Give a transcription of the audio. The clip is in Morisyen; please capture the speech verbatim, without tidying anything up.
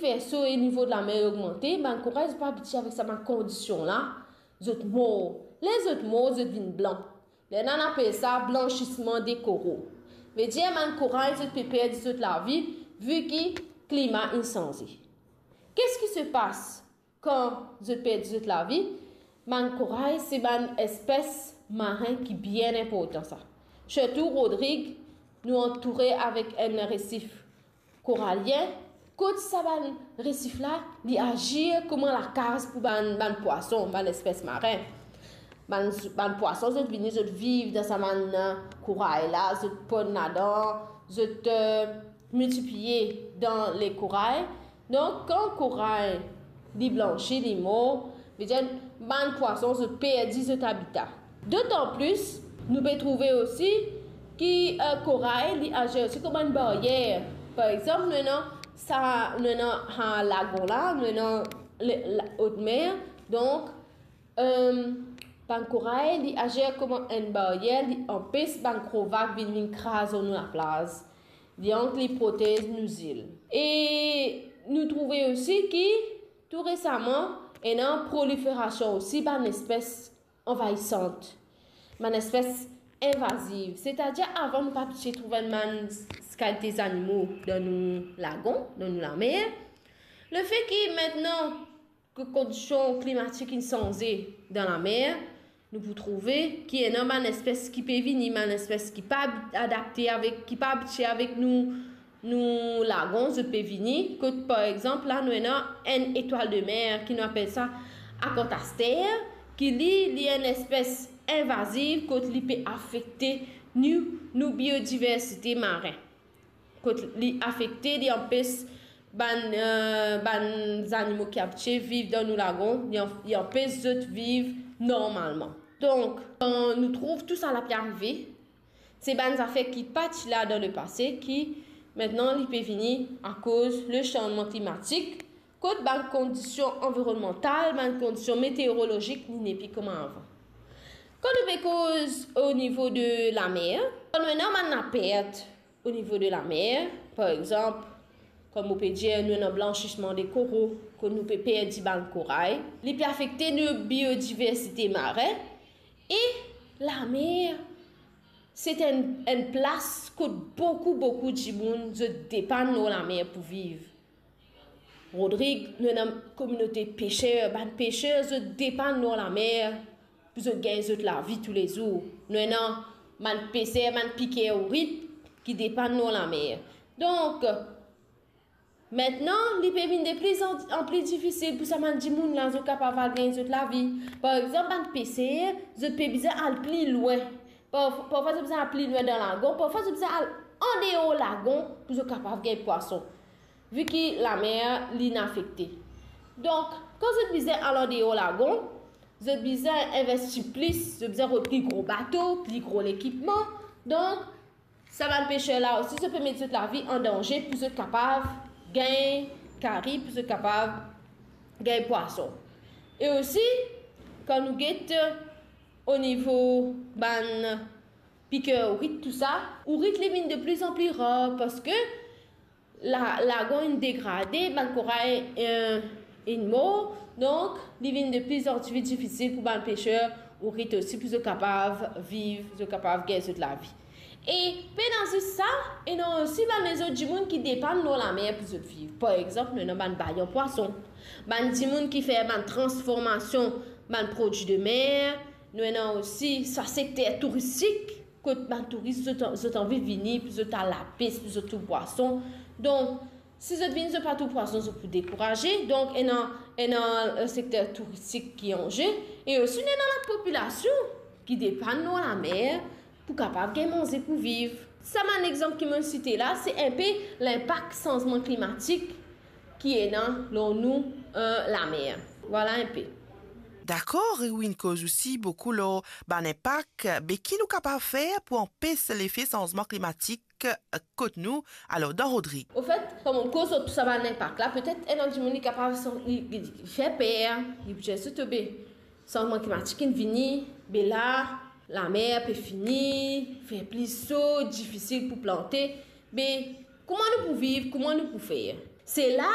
perso e nivo de lamer ogmante, bann koray zot pa abitie avek sa bann kondision la, zot mor. Ler zot mor, zot vinn blan. Lerla nou apel sa blansisman de koro. Vedir bann koray zot pe perdi zot lavi, vi ki klima inn sanze. Qu'est-ce qui se passe kan zot perdi zot lavi? Bann koray se bann espes marin ki bien inportan sa. Sirtou Rodrig, nou antoure avek enn resif koralien, kot sa bann resif la, li azir kouma lakaz pou bann, bann pwason, bann espes marin. Bann, bann pwason, zot vini, zot viv dan sa bann, eh, koray la, zot ponn ladan, zot, eh, miltipliye dan le koray. Donk, kan koray li blansi, li mor, vedir bann pwason, zot perdi zot abita. Dotan plis, nou pe trouve osi ki, eh, koray, li azir osi kouma enn baryer. Par exanp, nou ena sa, nou ena, ha, lagon la, nou ena le, la, otmer. Donk, eh, bann koray, li azir kouma enn baryer, li anpes bann gro vag vinn, vinn kraz lor nou laplaz. Donk, li protez nou zil. E nou trouve osi ki, tou resaman, ena proliferasion osi bann espes anvaisant, bann espes invaziv. Setadir, avan nou pa ti trouv enn bann s-, kalite zanimo dan nou lagon, dan nou lamer. Lefe ki mintnan ki kondision klimatik inn sanze dan lamer, nou pou trouve ki ena bann espes ki pe vini, bann espes ki pa adapte avek, ki pa abitie avek nou, nou lagon, zot pe vini, kot par exanp, la nou ena enn etwal de mer ki nou apel sa akantaster, ki li, li enn espes invaziv, kot li pe afekte nou, nou biodiversite marin. Kot li afekte, li anpes bann, eh, bann zanimo ki abitie viv dan nou lagon, li an-, li anpes zot viv normalman. Donk, kan nou trouv tou sa la pe arive, se bann zafer ki pa ti la dan lepase, ki mintnan li pe vini akoz le sanzman klimatik, kot bann kondision anvironmantal, bann kondision meteorolozik, li nepli kouma avan. Kan nou pe koz o nivo de lamer, kan nou ena bann lapert o nivo de lamer, par exanp, kouma mo pe dir, nou ena blansisman de koro, kot nou pe perdi bann koray, li pe afekte nou biodiversite marin, e lamer, se enn, enn plas kot boukou, boukou dimoun, zot depann lor lamer pou viv. Rodrig, nou ena kominote peser, bann peser, zot depann lor lamer pou zot gagn zot lavi toulezour. Nou ena bann peser, bann piker ourit ki depann lor lamer. Donk, mintnan, li pe vinn de pli an, an pli difisil pou sa bann dimoun la, zot kapav al gagn zot lavi. Par exanp, bann peser, zot pe bizin al pli lwin. Par, parfwa, zot bizin al pli lwin dan lagon, parfwa, zot bizin al andeor lagon pou zot kapav gagn pwason, vi ki lamer, li inn afekte. Donk, kan zot bizin al andeor lagon, zot bizin investi plis, zot bizin rod pli gro bato, pli gro lekipman. Donk, sa bann peser la osi, zot pe met zot lavi an danze pou zot kapav gagn kari, pou zot kapav gagn pwason. E osi, kan nou get o nivo bann piker ourit, tou sa, ourit li vinn de pli an pli rar, parski la, lagon inn degrade, bann koray, eh, inn mor, donk li vinn de pli an pli difisil pou bann peser ourit osi pou zot kapav viv, zot kapav gagn zot lavi. E pena zis sa, ena osi bann lezot dimoun ki depann lor lamer pou zot viv. Par exanp, nou ena bann bayan pwason, bann dimoun ki fer bann transformasion bann prodwi de mer, nou ena osi sa sekter touristik, kot bann touris, zot, zot anvi vini pou zot al lapes, pou zot trouv pwason. Donk, si zot vini, zot pa trouv pwason, zot pou dekouraze. Donk, ena, ena, eh, sekter touristik ki an ze. E osi, nou ena lapopilasion ki depann lor lamer pou kapav gagn manze pou viv. Sa bann exanp ki mo site la, se inpe linpak sanzman klimatik ki ena lor nou, eh, lamer. Vwala inpe. Dakor, e ou inn koz osi boukou lor bann inpak, be ki nou kapav fer pou anpes lefe sanzman klimatik kot nou? Alor, dan Rodrig. Anfet, kan mo koz lor tou sa bann inpak la, petet enn dimoun li kapav san-, li, li, li fer per, li pou dir, "Be, sanzman klimatik inn vini, be la, lamer pe fini, fer pli so, difisil pou plante, be kouma nou pou viv, kouma nou pou fer?" Se la